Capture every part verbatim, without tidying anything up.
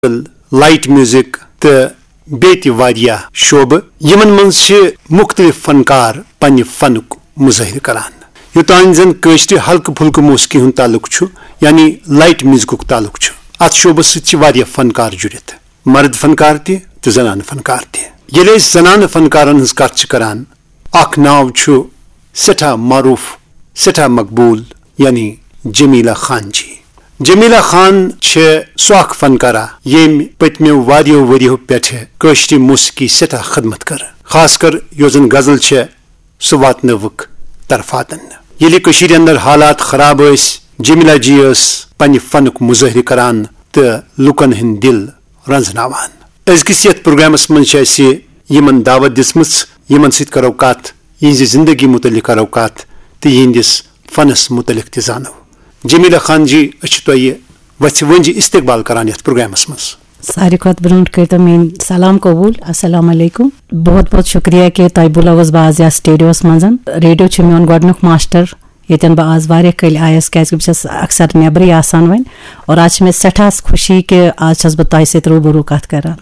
غزل، light music تہٕ بیٚیہِ تہِ واریاہ شعبہٕ، یِمن منٛز چھِ مُختٔلِف فنکار پننہِ فنُک مظٲہرٕ کران۔ یوٚتام زن کٲشرِ ہلکہٕ پھُلکہٕ موسیقی ہُنٛد تعلق چھُ، یعنی لائٹ میوزکُک تعلق چھُ، اتھ شعبس سۭتۍ چھِ واریاہ فنکار جُڑِتھ، مرد فنکار تہِ تہٕ زنانہٕ فنکار تہِ۔ ییٚلہِ أسۍ زنانہٕ فنکارن ہٕنٛز کتھ چھِ کران، اکھ ناو چھُ سٮ۪ٹھاہ معروف، سٮ۪ٹھاہ مقبوٗل، یعنی جمیلہ خان جی۔ جمیلہ خان چھِ سۄ اکھ فنکارہ، ییٚمۍ پٔتمیو واریاہو ؤریو پٮ۪ٹھٕ کٲشرِ موسیقی سٮ۪ٹھاہ خدمت کٔر۔ خاص کر یۄس زن غزل چھےٚ، سُہ واتنٲوٕکھ طرفاتن۔ ییٚلہِ کٔشیٖرِ اندر حالات خراب ٲسۍ، جمیلہ جی ٲس پننہِ فنُک مظٲہرٕ کران تہٕ لوٗکن ہٕنٛدۍ دِل رنزناوان۔ أزکِس یتھ پروگرامس منٛز چھِ اسہِ یِمن دعوت دِژمٕژ، یِمن سۭتۍ کرو کتھ، یِہنٛزِ زندگی متعلق کرو کتھ تہٕ یِہنٛدِس فنس متعلق تہِ زانو۔ جمیلہ خان جی، أسۍ چھِ تۄہہِ وژھِ ؤنجہِ استقبال کران یتھ پروگرامس منٛز۔ ساروی کھۄتہٕ برونٛٹھ کٔرۍتو میٲنۍ سلام قبوٗل۔ السلام علیکم۔ بہت بہت شُکریہ کہِ تۄہہِ بُلٲوٕس بہٕ آز یتھ سٹوڈیوس منٛز۔ ریڈیو چھُ میون گۄڈٕنیُک ماسٹر، ییٚتٮ۪ن بہٕ آز واریاہ کٲلۍ آیس، کیازِ کہِ بہٕ چھس اکثر نیبرٕے آسان وۄنۍ۔ اور آز چھِ مےٚ سٮ۪ٹھاہ خوشی کہِ آز چھس بہٕ تۄہہِ سۭتۍ روٗبروٗ کتھ کران۔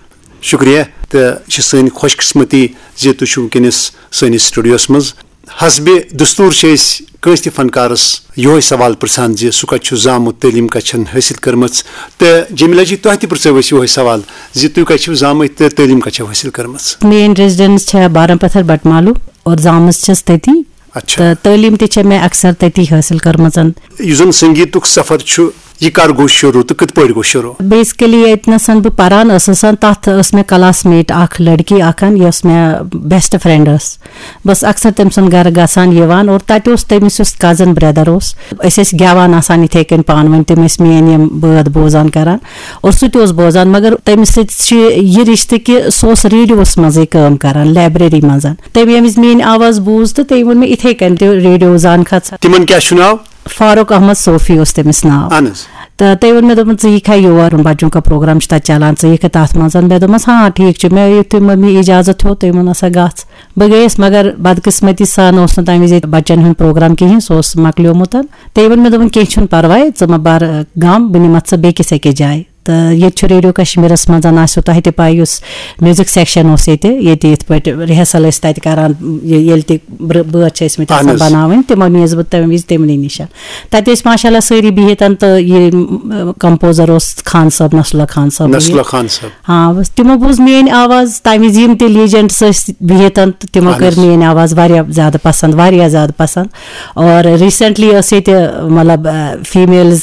شُکریہ، تہٕ چھِ سٲنۍ خۄش قسمتی زِ تُہۍ چھِو وٕنکیٚنس سٲنِس سٹوڈیوس منٛز۔ حسبِ دستور چھِ أسۍ کٲنٛسہِ تہِ فنکارس یِہوے سوال پرژھان زِ سُہ کتہِ چھُ زامُت، تعلیٖم کتہِ چھن حٲصِل کٔرمٕژ۔ تہٕ جمیلہ جی، تۄہہِ تہِ پرژھو أسۍ یِہوے سوال زِ تُہۍ کتہِ چھِو زامٕتۍ تہٕ تعلیٖم کتہِ چھو حٲصِل کٔرمٕژ؟ میٲنۍ ریزیڈنس چھےٚ بارمپتھر بٹمالو اور زامٕژ چھَس تٔتی۔ اچھا۔ تہٕ تعلیٖم تہِ چھےٚ مےٚ اکثر تٔتی حٲصِل کٔرمٕژ۔ یُس زن سنگیتُک سفر چھُ، یہِ کر گوٚو شروٗع تہٕ کِتھ پٲٹھۍ گوٚو شروٗع؟ بیسکلی ییٚتہِ نَسَن بہٕ پران ٲسٕس، تَتھ ٲس مےٚ کلاس میٹ اکھ لڑکی اکھ، یۄس مےٚ بیسٹ فرینڈ ٲس۔ بہٕ ٲسٕس اکثر تٔمۍ سُنٛد گرٕ گژھان یِوان، اور تَتہِ اوس تٔمِس یُس کزن بردر اوس، أسۍ ٲسۍ گٮ۪وان آسان یِتھے کٔنۍ پانہٕ ؤنۍ، تِم ٲسۍ میٲنۍ یِم بٲتھ بوزان کران، اور سُہ تہِ اوس بوزان۔ مگر تٔمِس سۭتۍ چھُ یہِ رشتہٕ کہِ سُہ اوس ریڈیوس منٛزٕے کٲم کران، لائبریری منٛز۔ تٔمۍ ییٚمہِ وِزِ میٲنۍ آواز بوٗز تہٕ تٔمۍ ووٚن مےٚ یِتھے کٔنۍ تہِ، ریڈیو زان کھژ۔ تِمن کیٛاہ چھُ ناو؟ فاروق احمد صوفی اوس تٔمِس ناو۔ اہن حظ۔ تہٕ تٔمۍ ووٚن مےٚ، دوٚپُن، "ژٕ یِکھا یور، بچوں کا پروگرام چھُ تَتہِ چلان، ژٕ یِکھا تَتھ منٛز؟" مےٚ دوٚپمَس، "ہاں، ٹھیٖک چھُ۔" مےٚ یُتھُے مٔمی اجازت ہیوٚت، تٔمۍ ووٚن، "ہسا گژھ۔" بہٕ گٔیَس، مگر بدقسمتی سان اوس نہٕ تَمہِ وِزِ ییٚتہِ بچن ہُنٛد پروگرام کِہیٖنۍ، سُہ اوس مۄکلیومُت۔ تٔمۍ ووٚن مےٚ، دوٚپُن، "کینٛہہ چھُنہٕ پرواے، ژٕ مہ بر غم، بہٕ نِمَتھ ژٕ بیٚکِس أکِس جایہِ۔" تہٕ ییٚتہِ چھُ ریڈیو کشمیرس منٛز، آسیو تۄہہِ تہِ پاے، یُس میوزک سیکشن اوس ییٚتہِ، ییٚتہِ یِتھ پٲٹھۍ ریہرسل ٲسۍ تتہِ کران، یہِ-، ییٚلہِ تہِ بر-، بٲتھ چھِ ٲسۍ مٕتۍ اہن آسان حظ۔ بناوٕنۍ، تِمو نیٖز بہٕ تمہِ وِزِ تِمنٕے نِش۔ تتہِ ٲسۍ ماشاء اللہ سٲری بِہِتھ تہٕ یہِ، م، کمپوزر اوس خان صٲب، نصراللہ خان صٲب۔ نصراللہ خان صٲب۔ ہاں، بس تِمو بوٗز میٲنۍ آواز، تمہِ وِزِ یِم تہِ لیجنڈس ٲسۍ بِہِتھ تہٕ تِمو اہن کٔر حظ۔ میٲنۍ آواز واریاہ زیادٕ پسند، واریاہ زیادٕ پسند۔ اور ریسنٹلی ٲس ییٚتہِ، مطلب، فیمیلز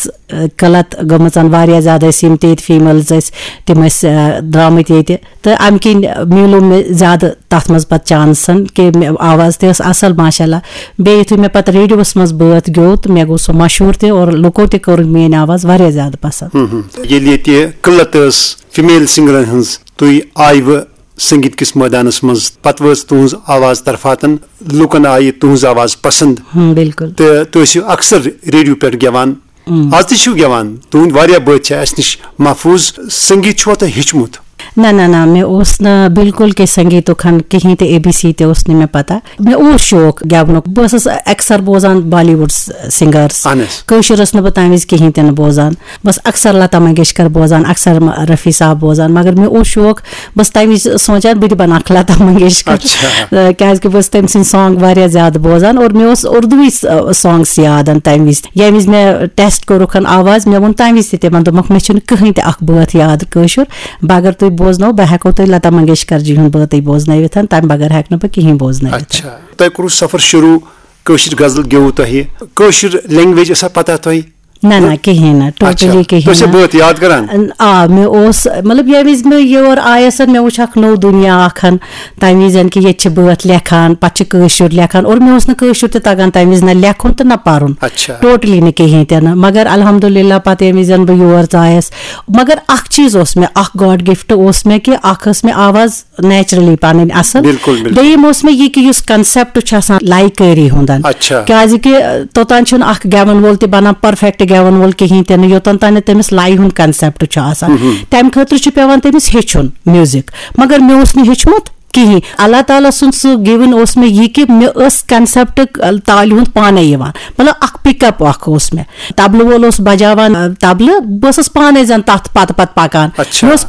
قلت گٔمٕژَن، واریاہ زیادٕ ٲسۍ یِم تہِ ییٚتہِ فیمیلز ٲسۍ، تِم ٲسۍ، آ، درٛامٕتۍ ییٚتہِ۔ تہٕ اَمہِ کِنۍ میلیو مےٚ زیادٕ تَتھ منٛز پَتہٕ چانسَن کہِ مےٚ آواز تہِ ٲس اَصٕل، ماشاء اللہ۔ بیٚیہِ یُتھُے مےٚ پَتہٕ ریڈیوَس منٛز بٲتھ گیوٚو، تہٕ مےٚ گوٚو سُہ مشہوٗر تہِ، اور لُکو تہِ کٔر میٛٲنۍ آواز واریاہ زیادٕ پَسنٛد۔ ہم ہم۔ ییٚلہِ ییٚتہِ قلت ٲس فیمیل سنگرَن ہٕنٛز، تُہۍ آیوٕ سنگیت کِس مٲدانَس منٛز، پَتہٕ وٲژ تُہٕنٛز آواز طرفاتَن، لُکَن آیہِ تُہٕنٛز آواز پَسنٛد۔ ہم، بِلکُل۔ تہٕ تُہۍ ٲسِو اکثر ریڈیو پٮ۪ٹھ گٮ۪وان۔ ہم۔ آز تہِ چھِو گٮ۪وان، تُہٕنٛدۍ واریاہ بٲتھ چھِ اَسہِ نِش محفوٗظ۔ سنگیت چھُوا تۄہہِ ہیوٚچھمُت؟ نہ، نہ، نہ، مےٚ اوس نہٕ بِلکُل کہِ سنگیتُک ہن کِہیٖنۍ تہِ، اے بی سی تہِ اوس نہٕ مےٚ پتہ۔ مےٚ اوس شوق گٮ۪ونُک، بہٕ ٲسٕس اکثر بوزان بالی وُڈ سنگرس۔ اہن حظ۔ کٲشُر ٲسٕس نہٕ بہٕ تَمہِ وِزِ کِہیٖنۍ تہِ نہٕ بوزان۔ بہٕ ٲسٕس اکثر لتا منگیشکر بوزان، اکثر م-، رفیع صاحب بوزان، مگر مےٚ اوس شوق، بہٕ ٲسٕس تَمہِ وِزِ سونٛچان بہٕ تہِ بنہٕ اکھ لتا منگیشکر۔ اچھا۔ تہٕ کیازِ کہِ بہٕ ٲسٕس تٔمۍ سٕنٛدۍ سانگ واریاہ زیادٕ بوزان، اور مےٚ اوس اردوٕے س-، سانگس یاد تَمہِ وِزِ۔ ییٚمہِ وِزِ مےٚ ٹیسٹ کوٚرُکھ آواز، مےٚ ووٚن تَمہِ وِزِ تہِ تِمن، دوٚپمَکھ، "مےٚ چھُنہٕ کٕہٕنۍ تہِ اکھ بٲتھ یاد کٲشُر، بہٕ اگر تُہۍ بوزنو، بہٕ ہٮ۪کو تۄہہِ لتا منگیشکر جی ہُنٛد بٲتٕے بوزنٲوِتھ، تَمہِ بغٲر ہٮ۪کہٕ نہٕ بہٕ کِہیٖنۍ بوزنٲوِتھ۔" اچھا، تۄہہِ کوٚروٕ سفر شروٗع، کٲشِر غزل گیوٚوٕ تۄہہِ، کٲشِر لینگویج ٲسا پتہ تۄہہِ؟ نہ، نہ، کِہیٖنۍ نہٕ، اچھا، ٹوٹلی کِہیٖنۍ تُہۍ ٲسِو نہٕ۔ بٲتھ یاد کران؟ آ، مےٚ اوس، مطلب، ییٚمہِ وِزِ مےٚ یور آیس، مےٚ وُچھ اکھ نوٚو دُنیا اکھ ہن، تَمہِ وِزِ کہِ ییٚتہِ چھِ بٲتھ لیکھان، پتہٕ چھِ کٲشُر لیکھان، اور مےٚ اوس نہٕ کٲشُر تہِ تگان تَمہِ وِزِ، نہ لیکھُن تہٕ نہ پرُن۔ اچھا۔ ٹوٹلی نہٕ کِہیٖنۍ تہِ نہٕ۔ مگر الحمدللہ پتہٕ ییٚمہِ وِزِ بہٕ یور ژایس، مگر اکھ چیٖز اوس مےٚ، اکھ گاڈ گفٹ اوس مےٚ کہِ اکھ ٲس مےٚ آواز نیچرلی پنٕنۍ اصل۔ بِلکُل، بِلکُل۔ دوٚیِم اوس مےٚ یہِ کہِ یُس concept چھُ آسان لایکٲری ہُنٛدن۔ اچھا۔ کیازِ کہِ، ٲ، توٚتام چھُنہٕ اکھ گٮ۪ون وول تہِ بنان perfect گٮ۪ون وول کِہیٖنۍ تہِ نہٕ، یوٚتام تام نہٕ تٔمِس لایہِ ہُنٛد concept چھُ آسان۔ مہم۔ تَمہِ خٲطرٕ چھُ پٮ۪وان تٔمِس ہیٚچھُن music۔ مگر مےٚ اوس نہٕ ہیوٚچھمُت کِہیٖنۍ۔ اللہ تعالیٰ سُنٛد سُہ given اوس مےٚ یہِ کہِ مےٚ ٲس concept، ٲ، تالہِ ہُنٛد پانے یِوان۔ مطلب، اکھ pick up اکھ اوس مےٚ۔ طبلہٕ وول اوس بجاوان، ٲ، طبلہٕ، بہٕ ٲسٕس پانے زن تتھ پتہٕ پتہٕ پکان۔ اچھا۔ مےٚ اوس